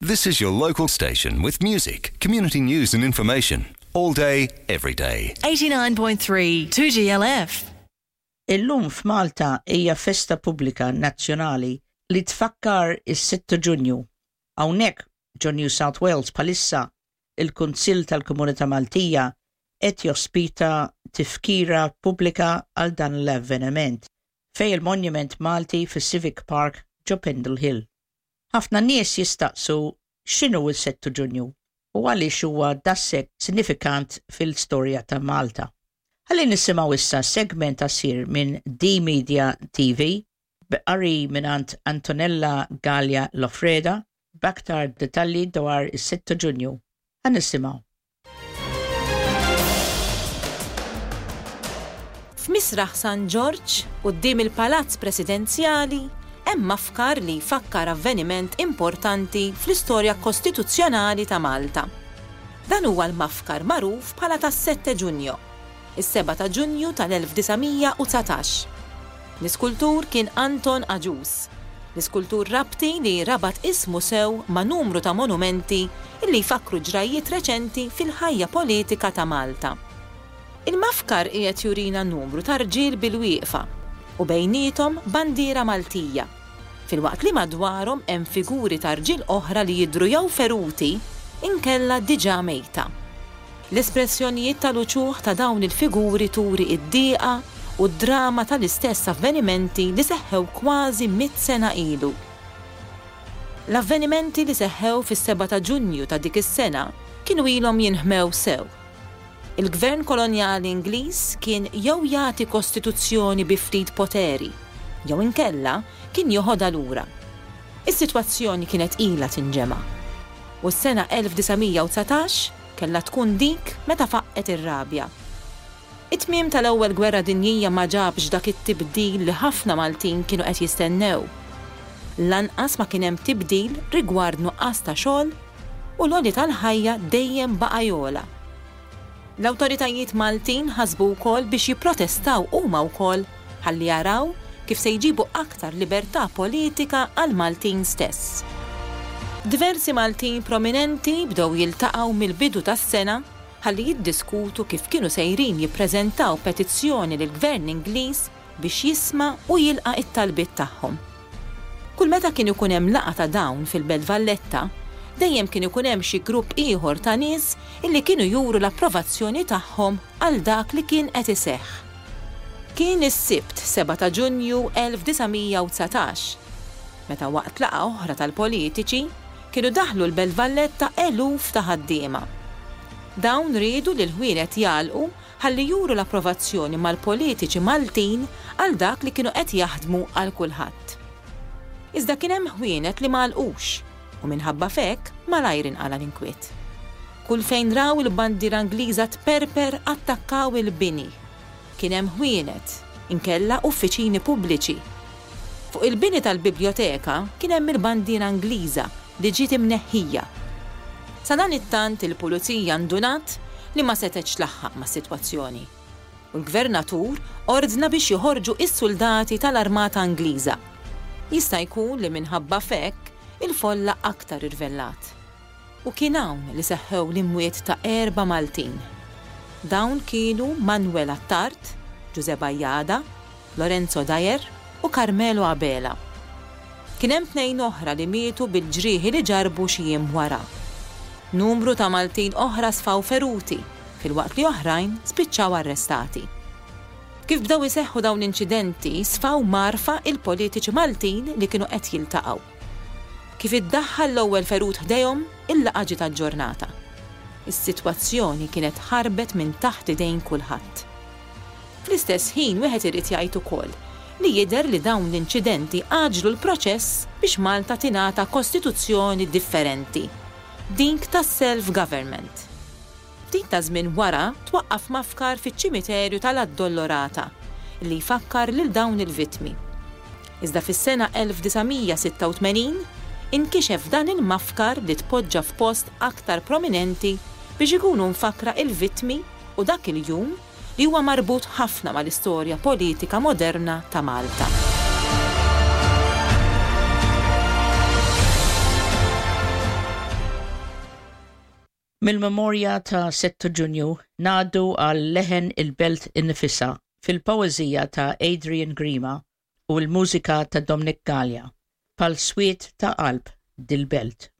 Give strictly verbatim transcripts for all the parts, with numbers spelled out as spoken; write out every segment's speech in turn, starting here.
This is your local station with music, community news and information. All day, every day. eighty-nine point three two G L F. Illum f'Malta hija festa pubblika nazzjonali li tfakkar is-sitta Ġunju. Hawnhekk ġo New South Wales bħalissa il-Kunsill tal-Komunità Maltija qed jospita tifkira pubblika għal dan l-avveniment fejn il-Monument Malti fis-Civic Park ġo Pendle Hill. Ħafna nies jistaqsu x'inhu il-sitta Ġunju u għaliex huwa daqshekk sinifikant fil-storja ta' Malta. Ħalli nisimgħu issa segment qasir minn D Media T V b'qari mingħand Antonella Gallia Lofreda b'aktar detalji dwar is-sitta Ġunju. Ħa nisimgħu. F'Misraħ San Ġorġ, quddiem il-Palazz Presidenzjali, hemm mafkar li jfakkar avveniment importanti fl-istorja kostituzzjonali ta' Malta. Dan huwa l-mafkar magħruf bħala tas-Sette Ġunju, is-seba' ta' Ġunju tal-elf disa' mija u dsatax. L-iskultur kien Anton Agius, l-iskultur Rabti li rabat ismu sew ma' numru ta' monumenti illi jfakru ġrajiet reċenti fil-ħajja politika ta' Malta. Il-mafkar qiegħed jurina numru ta' rġiel bil-wieqfa u bejnietom bandiera Maltija, filwaqt li madwarhom hemm figuri ta' rġiel oħra li jidhru jew feruti inkella diġà mejta. L-espressjonijiet tal-uċuħ ta' dawn il-figuri turi id-diqa u d-drama tal-istess avvenimenti li seħħew kważi mit sena ilu. L-avvenimenti li seħħew fis-seba' ta' Ġunju ta' dik is-sena kienu ilhom jinħmew sew. Il-gvern kolonjali Ingliż kien jew jagħti kostituzzjoni bi ftit poteri, jew inkella kien joħodha lura. Is-sitwazzjoni kienet ilha tinġema. U s-sena elf disa' mija u dsatax kellha tkun dik meta faqqet ir-rabja. It-tmiem tal-Ewwel Gwerra Dinjija ma ġabx dak it-tibdil li ħafna Maltin kienu qed jistennew. Lanqas ma kien hemm tibdil rigward nuqqas ta' xogħol u l-għoli tal-ħajja dejjem baqa' jogħla. L-awtoritajiet Maltin ħasbu wkoll biex jipprotestaw huma wkoll ħalli jaraw kif se jġibu aktar libertà politika għal Maltin stess. Diversi Maltin prominenti bdew jiltaqgħu mill-bidu tas-sena ħalli jiddiskutu kif kienu sejrin jippreżentaw petizzjoni lill-Gvern Ingliż biex jisma' u jilqa' it-talbiet tagħhom. Kull meta kien ikun hemm laqgħa ta' dawn fil-Belt Valletta, dejjem kien ikun hemm xi grupp ieħor ta' nies illi kienu juru l-approvazzjoni tagħhom għal dak li kien qed iseħħ. Kien is-Sibt seba' ta' Ġunju elf disa' mija u dsatax, meta waqt laqgħa oħra tal-politiċi kienu daħlu l-Belt Valletta eluf ta' ħaddiema. Dawn riedu li l-ħwienet jagħlqu ħalli juru l-approvazzjoni mal-politiċi Maltin għal dak li kienu qed jaħdmu għal kulħadd. Iżda kien hemm ħwienet li m'għalqux u minħabba f'hekk malajr inqala l-inkwiet. Kull fejn raw il-bandiera Ingliża tperper attakkaw il-bini. Kien hemm ħwienet, inkella uffiċini pubbliċi. Fuq il-bini tal-biblioteka kien hemm il-bandiera Ingliża li ġiet imneħħija. Sadanittant il-pulizija ndunat li ma setgħetx tlaħħaq mas-sitwazzjoni. U l-gvernatur ordna biex joħorġu is-soldati tal-Armata Ingliża. Jista' jkun li minħabba f'hekk il-folla aktar irvellat. U kien hawn li seħħew l-imwiet ta' erba' Maltin. Dawn kienu Manuel Attard, Giuseppe Bajada, Lorenzo Dyer u Carmelo Abela. Kien hemm tnejn oħra li mietu bil-ġrieħi li ġarbu xi jiem wara. Numru ta' Maltin oħra sfaw feruti, filwaqt li oħrajn spiċċaw arrestati. Kif bdew iseħħu dawn l-inċidenti, sfaw mgħarrfa il-politiċi Maltin li kienu qed jiltaqgħu. Kif iddaħħal l-ewwel ferut ħdejhom, il-laqgħa ġiet aġġornata. Is-sitwazzjoni kienet ħarbet minn taħt idejn kulħadd. Fl-istess ħin wieħed irid jgħid ukoll li jidher li dawn l-inċidenti għaġlu l-proċess biex Malta tingħata kostituzzjoni differenti, dik tas-self-government. Ftit ta' żmien wara twaqqaf mafkar fiċ-ċimiterju tal-Addolorata li jfakkar lil dawn il-vittmi. Iżda fis-sena elf disa' mija u sitta u tmenin inkixef dan il-mafkar li tpoġġa f'post aktar prominenti biex ikunu mfakra il-vittmi u dak il-jum li huwa marbut ħafna mal-istorja politika moderna ta' Malta. Mill-memorja ta' sitta Ġunju ngħaddu għal leħen il-belt innifisha fil-poeżija ta' Adrian Grima u l-mużika ta' Dominic Gallia, Bħal swied ta' qalb dil-belt.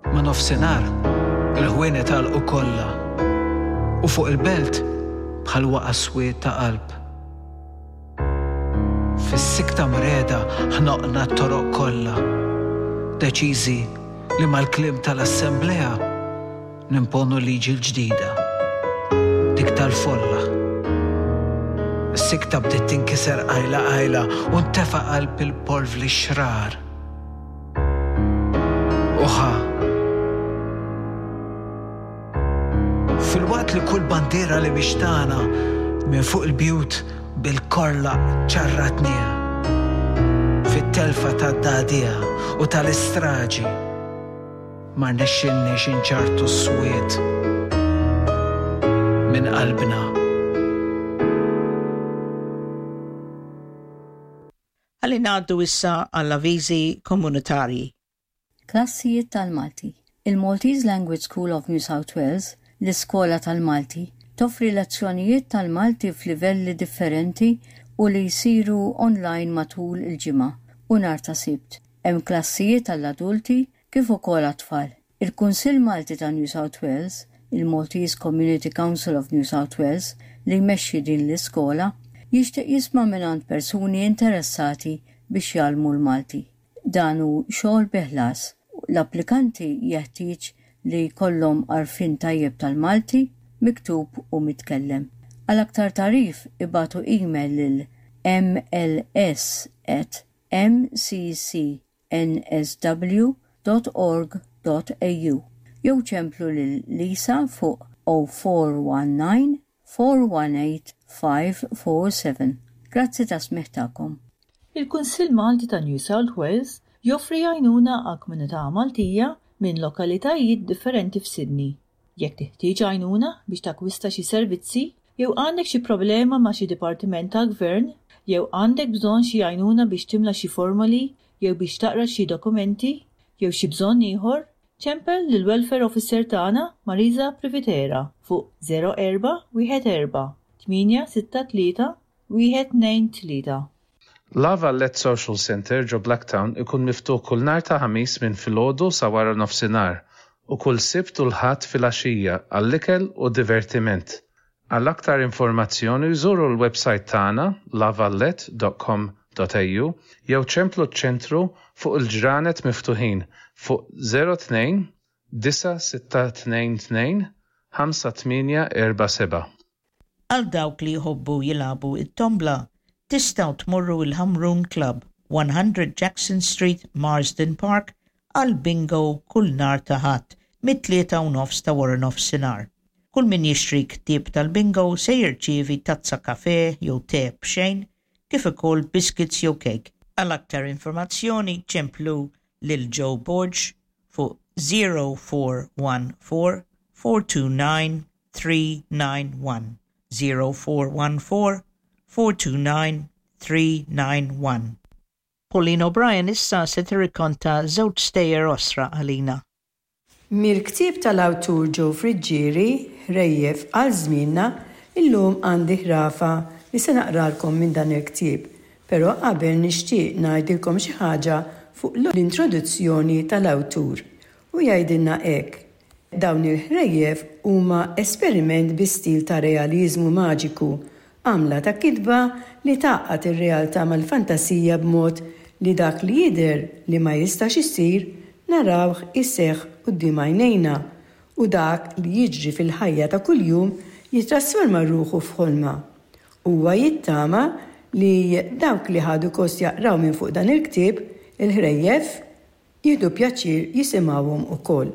Ma' nofsinhar il-ħwienet għalqu kollha u fuq il-belt bħal waqa' swied ta' qalb. Fis-sikta mreda ħnoqna t-toroq kollha, deċiżi li mal-kliem tal-assemblea nimponu liġi l-ġdida, dik tal-folla. Is-sikta bdiet tinkiser qajla qajla u ntefa' qalb il-polvli xrar. Uħa. Filwaqt li kull bandiera li mhix tagħna minn fuq il-bjut bil-korla ċarratniha. Fit-telfa tad-dagħdigħa u tal-istraġi ma rnexxilniex inċartu s-swied minn qalbna. Ħalli ngħaddu issa għall-avviżi komunitarji. Klassijiet tal-Malti. Il-Maltese Language School of New South Wales, l-Iskola tal-Malti, toffri lezzjonijiet tal-Malti f'livelli differenti u li jsiru online matul il-ġimgħa u nhar ta' Sibt. Hemm klassijiet għall-adulti kif ukoll għat-tfal. Il-Kunsill Malti ta' New South Wales, il-Maltese Community Council of New South Wales, li jmexxi din l-iskola, jixtieq jisma' mingħand persuni interessati biex jgħallmu l-Malti. Dan hu xogħol bi ħlas. L-applikanti jeħtieġ li jkollhom għarfien tajjeb tal-Malti, miktub u mitkellem. Għal aktar tagħrif ibagħtu email lil m l s at m c c n s w dot org dot a u jew ċemplu lil Lisa fuq oh four one nine four one eight five four seven. Grazzi ta' smigħ tagħkom. Il-Kunsill Malti ta' New South Wales joffri għajnuna għal komunità Maltija minn lokalitajiet differenti f'Sydney. Jekk teħtieġ għajnuna biex takkwista xi servizzi, jew għandek xi problema ma' xi dipartiment tal-gvern, jew għandek bżonn xi għajnuna biex timla xi formoli, jew biex taqra xi dokumenti, jew xi bżonn ieħor, ċempel lil welfare officer tagħna Marisa Privitera fuq zero erba' wieħed erba' tmienja sitta tlieta wieħed tnejn tlieta. La Valette Social Center ġo Blacktown ikun miftuħ kull nhar ta' Ħamis minn filgħodu sa wara nofsinhar u kull Sibt u l-Ħadd filgħaxija għall-ikel u divertiment. Għal aktar informazzjoni żuru l-website tagħna lavalette dot com dot a u jew ċemplu ċ-ċentru fuq il-ġranet miftuħin fuq zero tnejn disa sitta tnejn tnejn ħamsa tmienja erba' seba'. Għal dawk li jħobbu jilagħbu it-tombla, tistgħu tmorru il-Ħamrun Club, one hundred Jackson Street, Marsden Park, għal bingo kull nhar ta' Ħadd mit-tlieta u nofs ta' wara nofsinhar. Kull min jixtri ktieb tal-bingo se jirċievi tazza kafe jew te b'xejn, kif ukoll biscuits jew cake. Għal aktar informazzjoni ċemplu lil Joe Borg fuq zero four one four four two nine three nine one. zero four one four four two nine three nine one. Pauline O'Brien issa se tirrikonta żewġ stejjer osra għalina. Mill-ktieb tal-awtur Joe Friggieri, Ħrejjef għal żmienna, illum għandi ħrafa li se naqralkom minn dan il-ktieb, però qabel nixtieq ngħidilkom xi ħaġa fuq l-introduzzjoni tal-awtur. U jgħidilna hekk: dawn il-ħrejjef huma esperiment bi stil ta' realizmu maġiku, għamla ta' kitba li tgħaqqad ir-realtà mal-fantasija b'mod li dak li jidher li ma jistax isir narawh iseħħ quddiem għajnejna, u dak li jiġri fil-ħajja ta' kuljum jitrasforma ruħu f'ħolma. Huwa jittama li dawk li ħadu kost jaqraw minn fuq dan il-ktieb, il-ħrejjef, jieħdu pjaċir jisimgħuhom ukoll.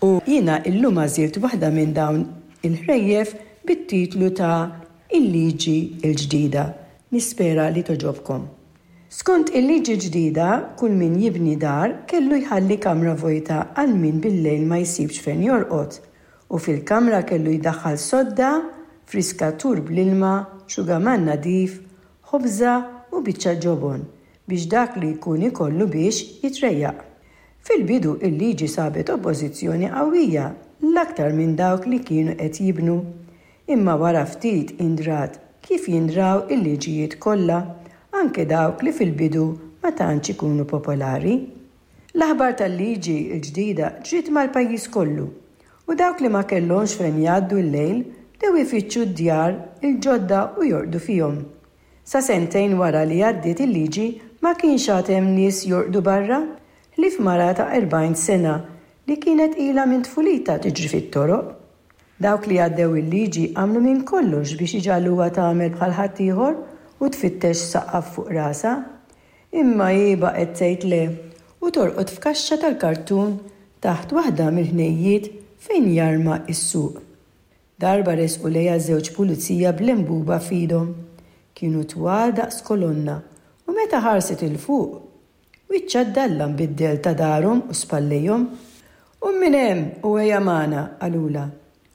U jiena illum għażilt waħda minn dawn il-ħrejjef bit-titlu ta' Il-Liġi l-Ġdida. Nispera li toġobkom. Skont il-liġi ġdida, kull min jibni dar kellu jħalli kamra vojta għal min bil-lejl ma jsibx fejn jorqod, u fil-kamra kellu jdaħħal sodda, friskatur bl-ilma, xugaman nadif, ħobża u biċċa ġobon biex dak li jkun ikollu biex jitrejjaq. Fil-bidu il-liġi sabet oppożizzjoni qawwija l-aktar minn dawk li kienu qed jibnu. Imma wara ftit indrat kif jindraw il-liġijiet kollha, anke dawk li fil-bidu ma tantx ikunu popolari. L-aħbar tal-liġi l-ġdida ġriet mal-pajjiż kollu u dawk li ma kellhomx fejn jgħaddu l-lejl bdew ifittxu d-djar il-ġodda u jorqdu fihom. Sa sentejn wara li għaddiet il-liġi ma kienx għad hemm nies jorqdu barra, ħlief mara ta' erbgħin sena li kienet ilha minn tfulitha tiġri fit-toroq. Dawk li għaddew il-liġi għamlu minn kollox biex iġagħluha tagħmel bħal ħaddieħor u tfittex saqaf fuq rasha. Imma hi baqgħet tgħid le u torqod f'kaxxa tal-kartun taħt waħda mill-ħnejjiet fejn jarma s-suq. Darba resqu lejha żewġ pulizija b'lembuba f'idhom. Kienu twal daqs kolonna u meta ħarset 'il fuq, wiċċha ddallam bid-dell ta' darhom u spallejhom. Qum minn hemm u ejja magħna, qalulha,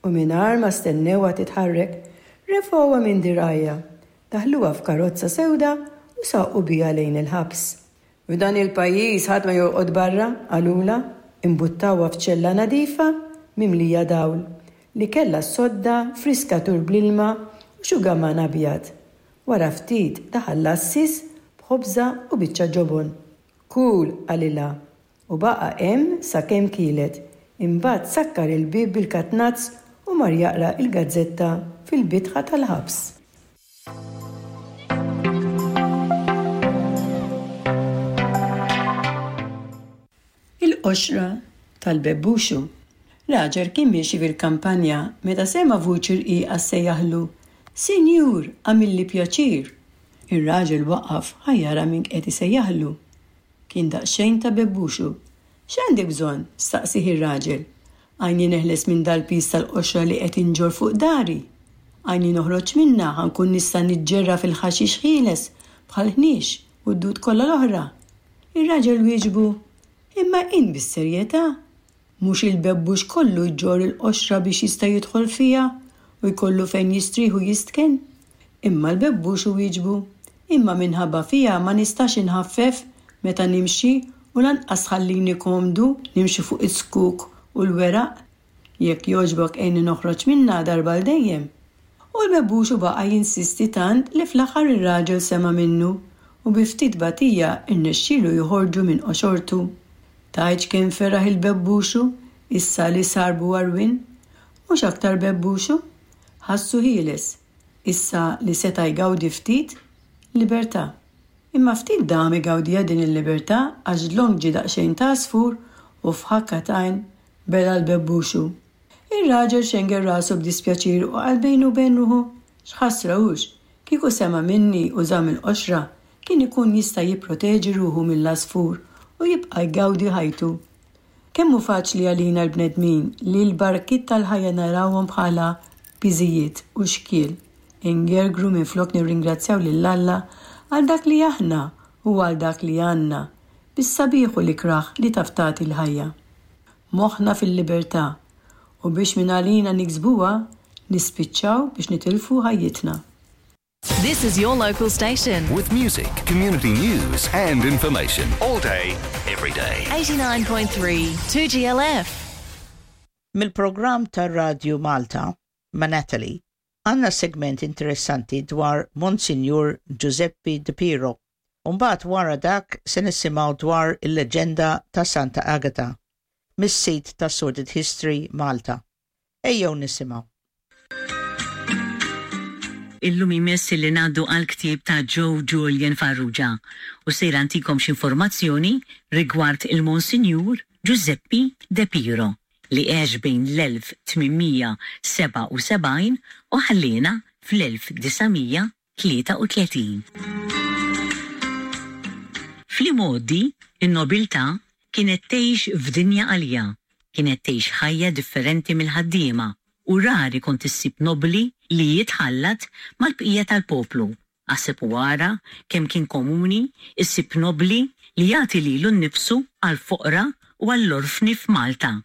u mingħajr ma stennewha titħarrek, refgħuha minn dirgħajha, daħluha f'karozza sewda u saqu biha lejn il-ħabs. F'dan il-pajjiż ħadd ma jorqod barra, qalulha, imbuttawha f'ċella nadifa mimlija dawl li kellha sodda friskatur bl-ilma u xugaman abjad. Wara ftit daħal l-għassies b'ħobża u biċċa ġobon. Kul, qalilha, u baqa' hemm sakemm kielet. Imbagħad sakkar il-bieb bil-katnazz u mar jaqra il-gazzetta fil-bitħa tal-ħabs. Il-qoxra tal-bebbuxu. Raġel kien miexi fil-kampanja meta sema' vuċi rqiqa ssejjaħlu, Sinjur, għamilli pjaċir. Ir-raġel waqaf ħa jara min qed isejjaħlu. Kien daqsxejn ta' bebbuxu. X'għandek bżonn? Staqsih ir-raġel. Għajni neħles minn dal-pis tal-qoxra li qed inġorr fuq dari. Għajni noħroġ minnha ħa nkun nista' niġġerra fil-ħaxix ħieles bħal ħniex u d-dud kollha l-oħra. Ir-raġel wieġbu, Imma int bis-serjetà? Mhux il-bebbux kollu jġorr il-qoxra biex jista' jidħol fiha u jkollu fejn jistrieħ u jistken? Imma l-bebbux wieġbu, Imma minħabba fiha ma nistax inħaffef meta nimxi u lanqas tħallini komdu nimxi fuq is-skuk u l-weraq. Jekk jogħġbok għinni noħroġ minnha darba l dejjem. U l-bebbuxu baqa' jinsisti tant li fl-aħħar ir-raġel sema' minnu u bi ftit batija rnexxielu joħorġu minn qoxortu. Tgħidx kemm feraħ il-bebbuxu issa li sar bugħarwien. Mhux aktar bebbuxu, ħassu ħieles, issa li seta' jgawdi ftit libertà. Imma ftit dam igawdiha din il-libertà għax dlonk ġie daqsxejn ta' għasfur u f'ħakka t'għajn bela' l-bebbuxu. Ir-raġel xengel rasu b'dispjaċir u qal bejnu u bejn ruħu, X'ħasra hux, kieku sema' minni u żamm il-qoxra, kien ikun jista' jipproteġi ruħu mill-għasfur u jibqa' jgawdi ħajtu. Kemm hu faċli għalina l-bnedmin li l-barkiet tal-ħajja narawhom bħala piżijiet u xkiel, ingergru minflok nirringrazzjaw lil Alla għal dak li aħna u għal dak li għandna, bis-sabiħ u l-ikrah li taf tagħti l-ħajja. Moħħna fil-libertà u biex minn għalina niksbuha nispiċċaw biex nitilfu ħajjitna. This is your local station. With music, community news and information. All day, every day. eighty-nine point three, two G L F. Mill-programm tar-Radju Malta, ma' Natalie, għandna segment interessanti dwar Monsignor Giuseppe De Piro. Umbagħad wara dak se nisimgħu dwar il-leġenda ta' Santa Agata, mis-sit ta' Sordid History Malta. Ejjew nisimgħu. Illum imess li ngħaddu għal ktieb ta' Joe Julian Farrugia u sejra ntikom x'informazzjoni rigward il-Monsinjur Giuseppe De Piro li għex bejn l-elf tmien seba' u sebgħin u ħallina fl-elf disa' mija tlieta u tletin. Fl-imgħoddi, in-nobiltà kienet tgħix f'dinja għalija, kienet tgħix ħajja differenti mill-ħaddiema u rari kont issib nobli li jitħallat mal-bqija tal-poplu. Aħseb u ara kemm kien komuni issib nobli li jagħti lilu nnifsu għall-foqra u għall-orfni f'Malta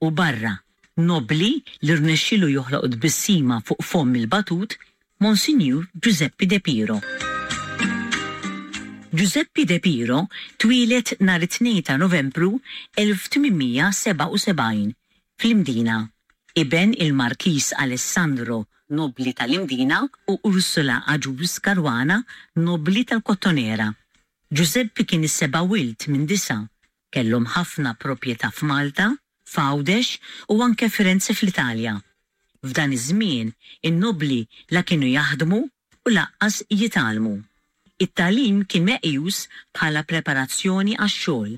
u barra. Nobli li rnexxielu joħloq tbissima fuq fomm il-batut, Monsignor Giuseppe De Piro. Giuseppe De Piro twieled nhar it-tnejn ta' Novembru elf tmien mija sebgħa u sebgħin fl-Imdina, iben il-Markiż Alessandro, nobbli tal-Imdina, u Ursula Agius Caruana, nobbli tal-Kottonera. Giuseppe kien is-seba' wild minn disgħa. Kellhom ħafna proprjetà f'Malta, f'Għawdex u anke Firenze fl-Italja. F'dan iż-żmien, in-nobbli la kienu jaħdmu u lanqas jitgħallmu. It-tagħlim kien meqjus bħala preparazzjoni għax-xogħol.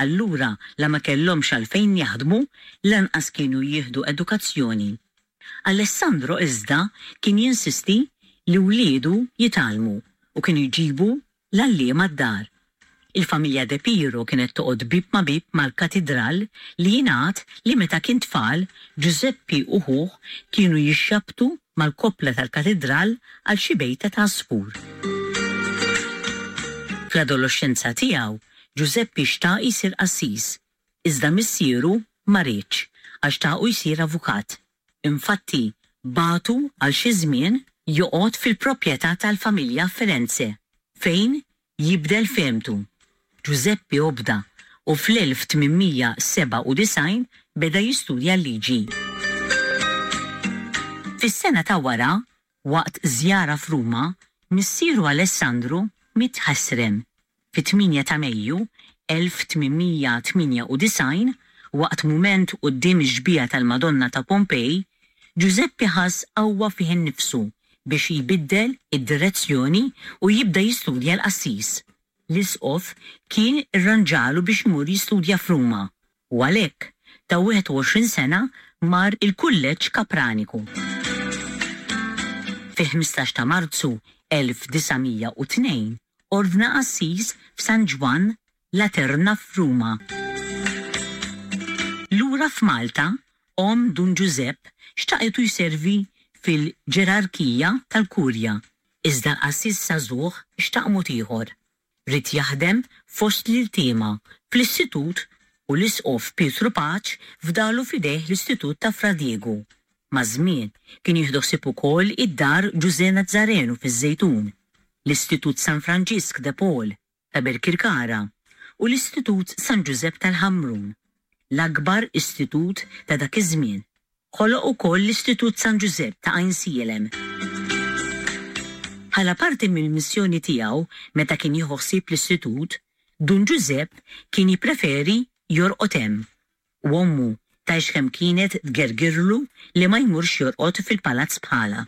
Allura la ma kellhomx għalfejn jaħdmu, lanqas kienu jieħdu edukazzjoni. Alessandro iżda kien jinsisti li wliedu jitgħallmu u kienu jġibu l-għalliema d-dar. Il-familja De Piro kienet toqgħod bib ma' bib mal-katidral li jingħad li meta kien tfal, Giuseppe u ħuh kienu jixxabtu mal-koppla tal-katidral għal xi bejta ta' għasfur. Fl-adolescenza tiegħu, Giuseppe xtaq jsir qassis, iżda missieru ma riedx għax xtaqu jsir avukat. Infatti, bagħtu għal xi żmien joqgħod fil-proprjetà tal-familja Firenze, fejn jibdel fehmtu. Giuseppe obda u fl-elf tmien mija sebgħa u disgħin beda jistudja l-liġi. Fis-sena ta' wara, waqt żjara f'Ruma, missieru Alessandro miet ħesrem. Fit-tmienja ta' Mejju elf tmien mija tmienja u disgħin, waqt mument quddiem ix-xbieha tal-Madonna ta' Pompej, Giuseppe ħass qawwa fih innifsu biex jbiddel id-direzzjoni u jibda jistudja l-qassis. L-isqof kien irranġalu biex imur jistudja f'Ruma u għalhekk ta' wieħed u għoxrin sena mar il-Kulleġġ Kapraniku. Fil-ħmistax ta' Marzu elf disa' mija u tnejn ordna qassis f'San Ġwann Laterna f'Ruma. Lura f'Malta, omm Dun Giuseppe xtaqetu jservi fil-ġerarkija tal-Kurja, iżda l-qassis żagħżugħ xtaq mod ieħor. Ried jaħdem fost l-iltiema fl-istitut u l-isqof Pietru Pace fdalu f'idejh l-istitut ta' Fra Diego. Maż-żmien kien jieħdu ħsieb ukoll id-dar Ġużè Nazzarenu fiż-Żejtun, l-Istitut San Franġisk de Paul ta' Birkirkara u l-Istitut San Ġużepp tal-Ħamrun, l-akbar istitut ta' dak iż-żmien. Ħoloq ukoll l-Istitut San Ġużepp ta' Għajnsielem. Bħala parti mill-missjoni tiegħu meta kien jieħu ħsieb l-istitut, Dun Ġużepp kien jippreferi jorqod hemm. U ommu tgħix kemm kienet tgergirlu li ma jmurx jorqod fil-palazz bħala.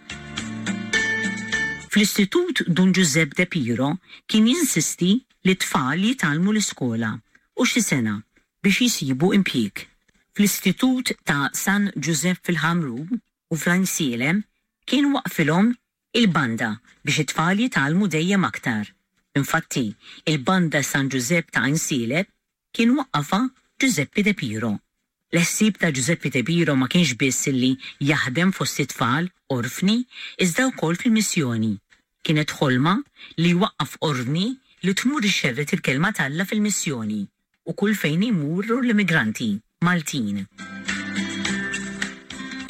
Fl-istitut Dun Ġużepp De Piro kien jinsisti li t-tfal jitgħallmu l-iskola u xi sena biex jisibu impjieg. Fl-istitut ta' San Ġużepp fil-Ħamrun u fl-Għajnsielem kien waqfilhom il-banda biex it-tfal jitgħallmu dejjem aktar. Infatti, il-banda San Ġużepp ta' Għajnsielem kien waqqafha Giuseppe De Piro. L-ħsieb ta' Giuseppe De Piro ma kienx biss illi jaħdem fost it-tfal orfni, iżda wkoll fil-missjoni. Kienet ħolma li jwaqqaf ordni li tmur ixxerred il-kelma t'Alla fil-missjoni u kull fejn imurru l-immigranti Maltin.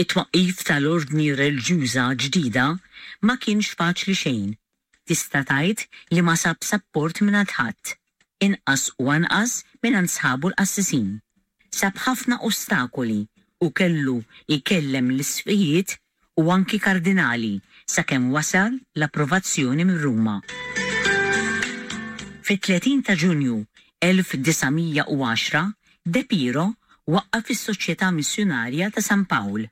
It-twaqqif tal-ordni reliġjuża ġdida ma kienx faċli xejn. Tista' tgħid li ma sab sapport mingħand ħadd, inqas u anqas mingħand sħabu l-qassisin. Sab ħafna ostakoli u kellu jkellem l-isqfijiet u anki kardinali sakemm wasal l-approvazzjoni minn Ruma. Fit-tletin ta' Ġunju elf disa' mija u għaxra, De Piro waqqaf is-Soċjetà Missjunarja ta' San Pawl,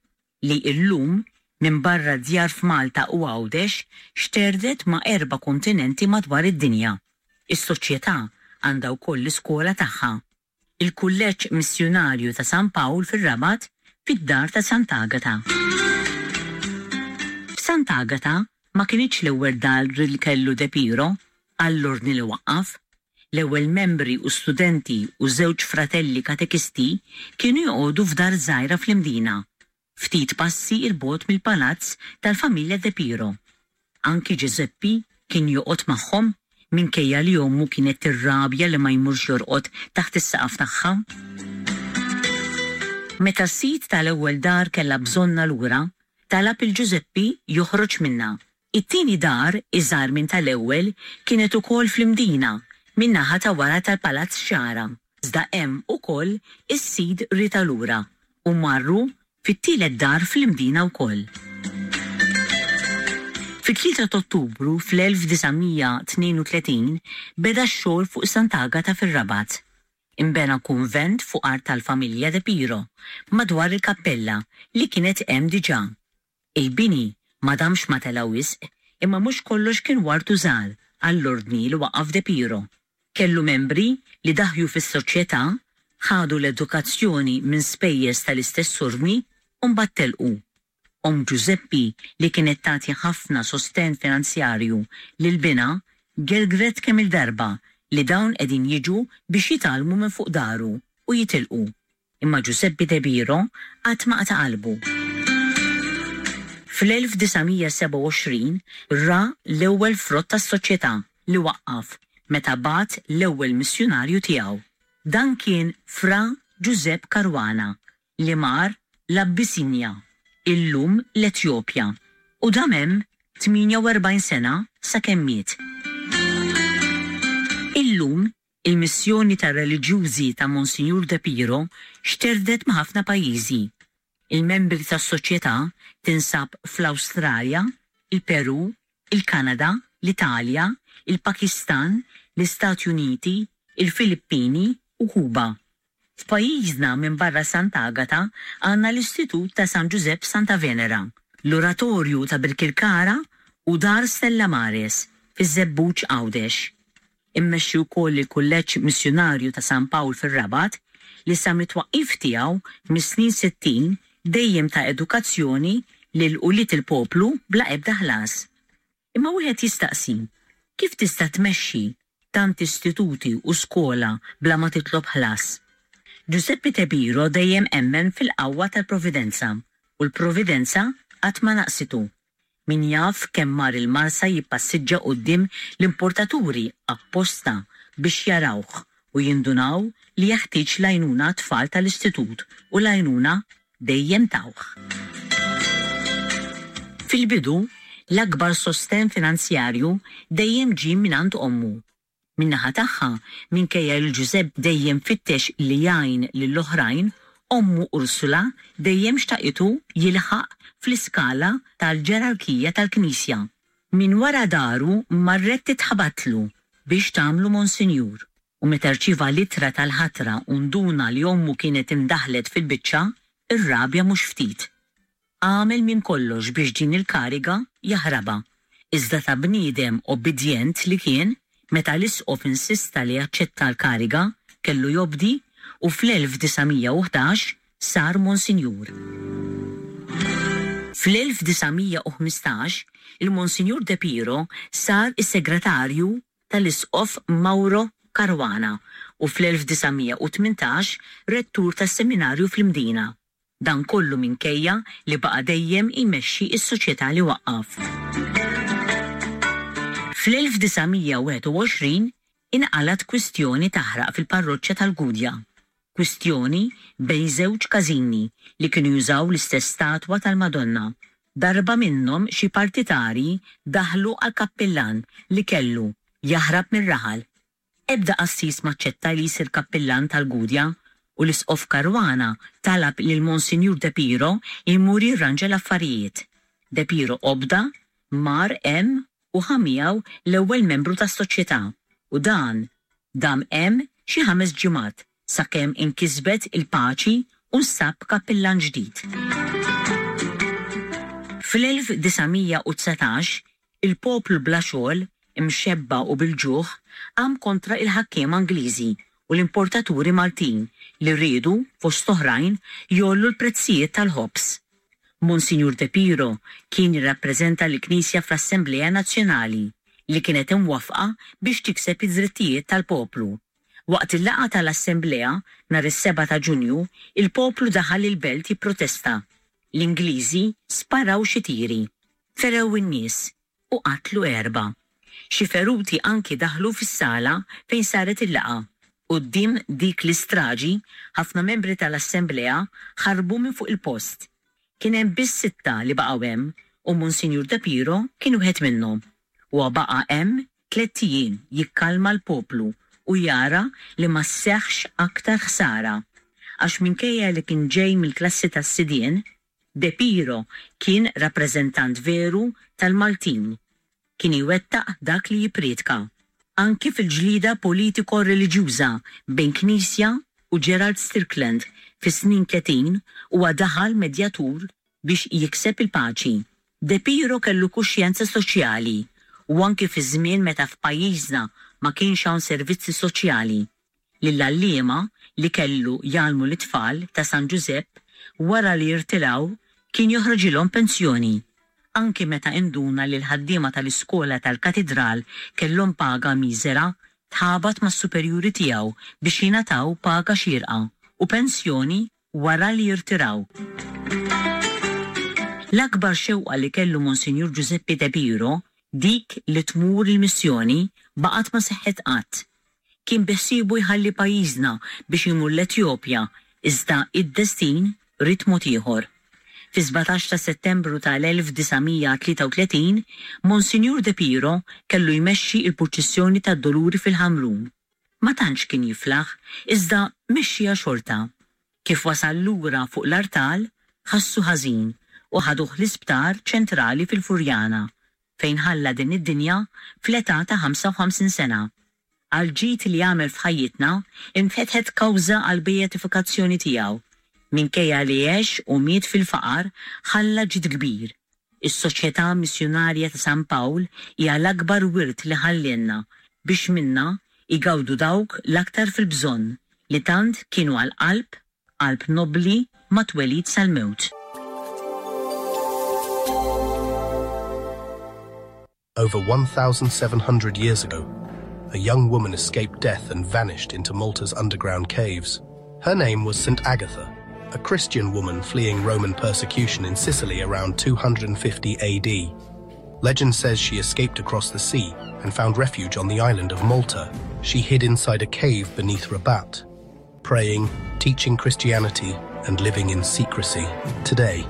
li illum minn barra djar f'Malta u Għawdex xterdet ma' erba' kontinenti madwar id-dinja. Is-soċjetà għandha wkoll l-iskola tagħha, il-Kulleġġ Missjunarju ta' San Pawl fir-Rabat fid-dar ta' Sant'Agata. F'Sant'Agata ma kinitx l-ewwel dar li kellu De Piro għall-ordni li waqqaf. L-ewwel membri u studenti u żewġ fratelli katekisti kienu joqogħdu f'dar żgħira fl-Imdina, ftit passi 'l bogħod mill-palazz tal-familja De Piro. Anki Giuseppe kien joqgħod magħhom minkejja li ommu kienet tirrabja li ma jmurx jorqod taħt is-saqaf tagħha. Meta s-sid tal-ewwel dar kellha bżonna lura, talab il Giuseppe joħroġ minnha. It-tieni dar, iżgħar minn tal-ewwel, kienet ukoll fl-Imdina, min-naħa ta' wara tal-Palazz Xagħra, iżda hemm ukoll is-sid riedha lura u marru fit-tielet dar fl-Imdina wkoll. Fit-tlieta ta' Ottubru fl-elf disa' mija tnejn u tletin beda x-xogħol fuq Sant'Agata fir-Rabat. Inbena kunvent fuq art tal-familja De Piro madwar il-kappella li kienet hemm diġà. Il-bini ma damx ma tela' wisq imma mhux kollox kien ward u żgħar għall-ordni li waqqaf De Piro. Kellu membri li daħju fis-soċjetà, ħadu l-edukazzjoni minn spejjeż tal-istess ordni u mbagħad telqu. Omm Ġużeppi li kienet tagħti ħafna sostenn finanzjarju lil binha gergret kemm il-darba li dawn qegħdin jiġu biex jitgħallmu minn fuq daru u jitilqu. Imma Ġużeppi De Piro qatt ma qata' qalbu. Fl-elf disa' mija sebgħa u għoxrin ra l-ewwel frott tas-soċjetà li waqqaf meta bagħat l-ewwel missjunarju tiegħu. Dan kien Fra Ġużepp Caruana li mar l-Abissinia, illum l-Etjopja, u dam hemm tmienja u erbgħin sena sakemm miet. Illum il-missjoni tar-reliġjużi ta' Monsinjur De Piro xterdet ma' ħafna pajjiżi. Il-membri tas-soċjetà tinsab fl-Awstralja, il-Peru, il-Kanada, l-Italja, il-Pakistan, l-Istati Uniti, il-Filippini u Kuba. F'pajjiżna minn barra Sant'Agata għandna l-Istitut ta' San Ġużepp Santa Venera, l-Oratorju ta' Birkirkara u Dar Stella Maris fiż-Żebbuġ Għawdex. Immexxi wkoll il-Kulleġġ Missjunarju ta' San Pawl fir-Rabat li sa mit-twaqqif tiegħu mis-snin sittin dejjem ta' edukazzjoni lil ulied il-poplu bla ebda ħlas. Imma wieħed jistaqsi, kif tista' tmexxi tant istituti u skola bla ma titlob ħlas? Giuseppe De Piro dejjem emmen fil-qawwa tal-Providenza u l-Providenza qatt ma naqsitu. Min jaf kemm mar il-Marsa jippassiġġa quddiem l-importaturi apposta biex jarawh u jindunaw li jeħtieġ l-għajnuna tfal tal-istitut u l-għajnuna dejjem tawh. Fil-bidu, l-akbar sosten finanzjarju dejjem ġie mingħand ommu. Min-naħa tagħha, minkejja li Ġużepp dejjem fittex li jgħin lill-oħrajn, ommu Ursula dejjem xtaqitu jilħaq fl-iskala tal-ġerarkija tal-Knisja. Min wara daru marret titħabatlu biex tagħmlu Monsinjur. U meta rċieva l-ittra tal-ħatra u nduna li ommu kienet imdaħlet fil-biċċa, ir-rabja mhux ftit. Għamel minn kollox biex din il-kariga jaħrabha. Iżda ta' bniedem obbedjent li kien, meta l-isqof insista li jaċċetta l-kariga, kellu jobdi u fl-elf disa' mija u ħdax sar Monsinjur. Fl-elf disa' mija u ħmistax, il-Monsinjur De Piro sar is-segretarju tal-isqof Mauro Caruana u fl-elf disa' mija u tmintax rettur tas-seminarju fl-Imdina. Dan kollu minkejja li baqa' dejjem imexxi s-soċjetà li waqqaf. Fl-elf disa' mija u wieħed u għoxrin inqalgħet kwistjoni taħraq fil-parroċċa tal-Gudja. Kwistjoni bejn żewġ każini li kienu jużaw l-istess statwa tal-Madonna. Darba minnhom xi partitari daħlu għal kappillan li kellu jaħrab mir-raħal. Ebda qassis maċċetta li jsir kappillan tal-Gudja u l-isqof Caruana talab lil Monsinjur De Piro jmur jirranġa l-affarijiet. De Piro obda, mar hemm u ħa miegħu l-ewwel membru tas-soċjetà u dan dam hemm xi ħames ġimgħat sakemm inkisbet il-paċi u nsab kappillan ġdid. Fl-elf disa' mija u dsatax, il-poplu bla xogħol, imxebba u bil-ġuħ, qam kontra il-ħakkiema Ingliżi u l-importaturi Maltin li riedu, fost oħrajn, jgħollu l-prezzijiet tal-ħobż. Monsinjur De Piro kien jirrappreżenta l-Knisja fl-Assemblea Nazzjonali li kienet imwafqa biex tikseb id-drittijiet tal-poplu. Waqt il-laqgħa tal-Assemblea nhar is-sebgħa ta' Ġunju, il-poplu daħal il-belt jipprotesta. L-Ingliżi sparaw xi tiri, ferew in-nies u qatlu erba'. Xi feruti anki daħlu fis-sala fejn saret il-laqgħa. Quddiem dik l-istraġi, ħafna membri tal-Assemblea ħarbu minn fuq il-post. Kien hemm biss sitta li baqgħu hemm u Monsinjur De Piro kien wieħed minnhom. Huwa baqa' hemm tliet ijiem jikkalma l-poplu u jara li ma sseħħx aktar ħsara. Għax minkejja li kien ġej mill-klassi tas-sidien, De Piro kien rappreżentant veru tal-Maltin. Kien iwettaq dak li jippriedka. Anki fil-ġlida politiko-reliġjuża bejn Knisja u Gerald Strickland fis-snin tletin huwa daħal medjatur biex jikseb il-paċi. De Piro kellu kuxjenza soċjali u anki fi żmien meta f'pajjiżna ma kienx hawn servizzi soċjali. Lill-għalliema li kellu jgħallmu lit-tfal ta' San Ġużepp wara li jirtiraw kien joħroġilhom pensjoni. Anki meta induna li l-ħaddiema tal-iskola tal-katidral kellhom paga miżera, tħabat mas-superjuri tiegħu biex jingħataw paga xierqa u pensjoni wara li jirtiraw. L-akbar xewqa li kellu Monsinjur Ġużeppi De Piro, dik li tmur il-missjoni, baqgħet ma seħħet qatt. Kien beħsiebu jħalli pajjiżna biex imur l-Etjopja, iżda id-destin ried mod ieħor. Fi sbatax ta' Settembru tal-elf disa' mija tlieta u tletin, Monsinjur De Piro kellu jmexxi il-purċissjoni tad-Doluri fil-Ħamrun. Ma tantx kien jiflaħ, iżda mexxija xorta. Kif wasal lura fuq l-artal, ħassu ħażin u ħaduh l-isptar ċentrali fil-Furjana, fejn ħalla din id-dinja fl-età ta' ħamsa u ħamsin sena. Għal ġid li għamel f'ħajjitna, infetħet kawża għal beatifikazzjoni tiegħu. Minkejja li għex u miet fil-faqar, ħalla ġid kbir. Is-Soċjetà Missjunarja ta' San Pawl hija l-akbar wirt li ħallielna biex minna igawdu dawk l-aktar fil-bżonn li tant kienu għal-qalb, qalb nobli ma' twelid sal-mewt. Over one thousand seven hundred years ago, a young woman escaped death and vanished into Malta's underground caves. Her name was Saint Agatha, a Christian woman fleeing Roman persecution in Sicily around two hundred and fifty A D. Legend says she escaped across the sea and found refuge on the island of Malta. She hid inside a cave beneath Rabat, praying, teaching Christianity, and living in secrecy. Today,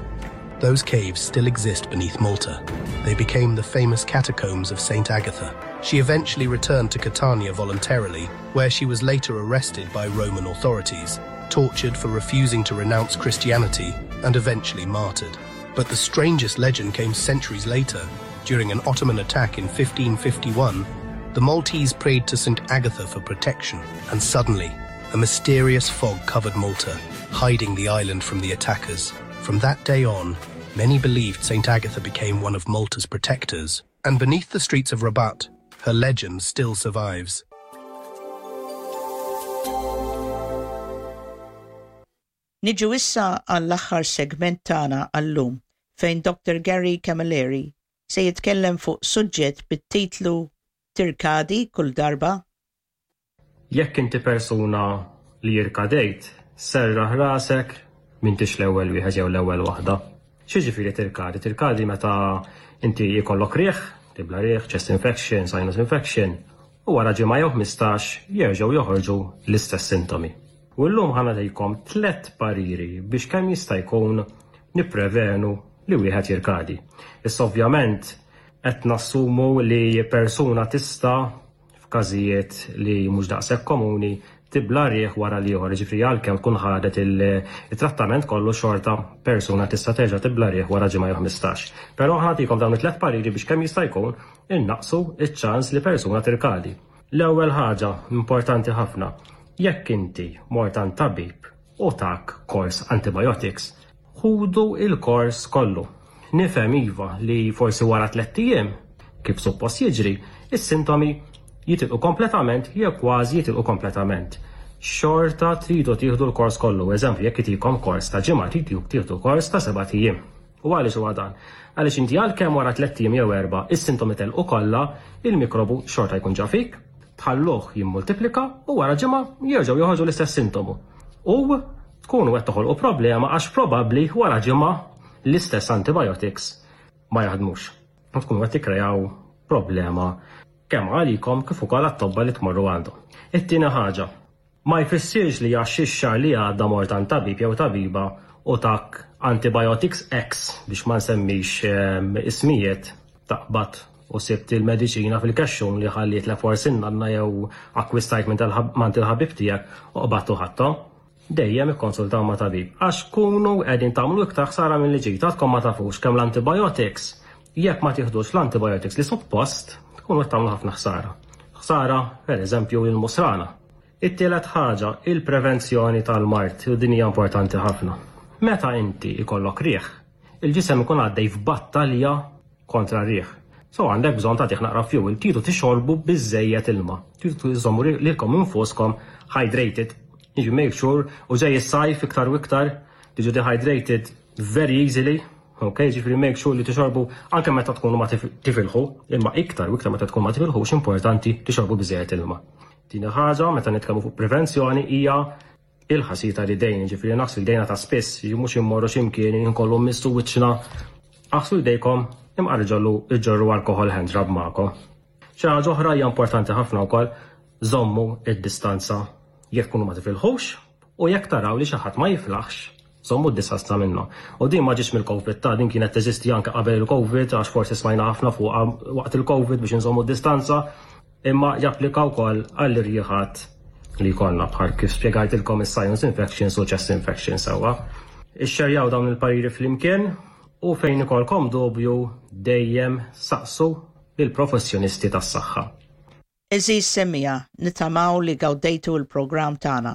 those caves still exist beneath Malta. They became the famous catacombs of Saint Agatha. She eventually returned to Catania voluntarily, where she was later arrested by Roman authorities, tortured for refusing to renounce Christianity, and eventually martyred. But the strangest legend came centuries later. During an Ottoman attack in fifteen fifty-one, the Maltese prayed to Saint Agatha for protection, and suddenly, a mysterious fog covered Malta, hiding the island from the attackers. From that day on, many believed Saint Agatha became one of Malta's protectors, and beneath the streets of Rabat, her legend still survives. Niġu issa għall-aħħar segment tagħna għallum fejn Doctor Gary Camilleri se jitkellem fuq suġġett bit-titlu Tirkadi kull darba. Jekk inti persuna li jirkadejt, serraħ rasek m'intix l-ewwel wieħed jew l-ewwel waħda. X'jiġifieri tirkadi? Tirkadi meta inti jkollok riħ, tibla riħ, chest infection, sinus infection, u wara ġimgħa jew ħmistax jerġgħu joħorġu l-istess sintomi. U llum ħa nagħtikom tliet pariri biex kemm jista' jkun nipprevenu li wieħed jirkadi. Issa ovvjament qed nassumu li persuna tista' f'każijiet li mhux daqshekk komuni tibla riħ wara li ieħor, jiġifieri għalkemm tkun ħadet il-, il-trattament kollu xorta persuna tista' terġa' tibla riħ wara ġimgħa jew ħmistax. Però ħa nagħtikom dawn it-tliet pariri biex kemm jista' jkun innaqsu ċ-ċans li persuna tirkadi. L-ewwel ħaġa importanti ħafna, jekk inti mort għand tabib u tak kors antibiotics, ħudu il-kors kollu. Nifhem iva li forsi wara tliet ijiem, kif suppost jiġri, is-sintomi jitilqu kompletament jew kważi jitilqu kompletament. Xorta tridu tieħdu l-kors kollu. Eżempju, jekk itikom kors ta' ġimgħa, tridu tieħdu kors ta' seba' ijiem. U għaliex huwa dan? Għaliex inti għalkemm wara tliet ijiem jew erba' is-sintomi telqu kollha, il-mikrobu xorta jkun ġa fik, tħalluh jimmultiplika u wara ġimgħa jerġgħu joħorġu l-istess sintomu. U tkunu qed toħolqu problema għax probabbli wara ġimgħa l-istess antibiotics ma jaħdmux. U tkunu qed tikkrejaw problema kemm għalikom kif ukoll għat-tobba li tmorru għandhom. It-tieni ħaġa, ma jfissirx li għax ix-xahar li għadda mort għand tabib jew tabiba u tak antibiotics X biex ma nsemmix, ehm, ismijiet taqbad u sibt il-mediċina fil-kexxun li ħallitlek forsi nanna jew akkwistajt minn il-ħabib tiegħek u qbadt u ħadthom. Dejjem ikkonsultaw ma' tabib. Għax kunu qegħdin tagħmlu iktar ħsara milli ġid, għadkom ma tafux kemm l-antibiotics. Jekk ma tieħdux l-antibiotics li suppost, tkunu qed tagħmlu ħafna ħsara. Ħsara, per eżempju, il-musrana. It-tielet ħaġa, il-prevenzjoni tal-mard, u din hija importanti ħafna. Meta inti ikollok riħ, il-ġisem ikun għaddej f'battalja kontra r-riħ. So għandek bżonn tagħtih naqra fuel, tridu tixorbu biżejjed ilma. Tridu iżommu lilkom infuskom hydrated. You make sure, u ġej is-sajf iktar u iktar, tiġu dehydrated very easily, ok, ġifieri make sure li tixorbu anke meta tkunu ma tifilħu, imma iktar u iktar meta tkun ma tifilħux, importanti tixorbu biżejjed ilma. Tieni ħaġa, meta nitkellmu fuq prevenzjoni, hija il-ħasil tal-idejn, ġifieri naħslu jdejna ta' spiss, mhux immorru x'imkien inkollu mmissu wiċċna. Aħslu jdejkom, imqar ġollu iġorru alcohol hand rub magħkom. Xi ħaġa oħra hija importanti ħafna wkoll, żommu id-distanza jekk tkunu ma tifilħux u jekk taraw li xi ħadd ma jiflaħx, żommu d-distanza minnu. U din ma ġiex mill-Covid, ta' din kienet teżisti anke qabel il-Covid, għax forsi smajna ħafna fuq waqt il-Covid biex nżommu d-distanza, imma japplika wkoll għall-irjiħat li jkollna bħal kif spjegajtilkom is-sinus infections u chest infections sewwa. Ixxerjaw dawn il-pariri flimkien u fejn ikolkom dubju dejjem saqsu lill-professjonisti tas-saħħa. Għeżież semmiegħa, nittamaw li gawdejtu il-programm tagħna.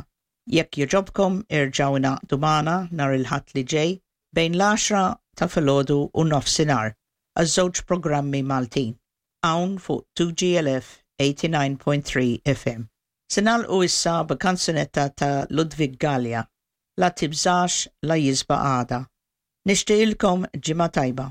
Jekk jogħġobkom, erġgħu ingħaqdu magħna nhar il-Ħadd li ġej bejn l-għaxra ta' filgħodu u nofsinhar għaż-żewġ programmi Maltin. Hawn fuq two G L F eighty-nine point three F M. Se nagħlqu issa b'kanzunetta ta' Ludwig Gallia, "La tibżax la jisbaħ għada". Nixtieqilkom ġimgħa tajba.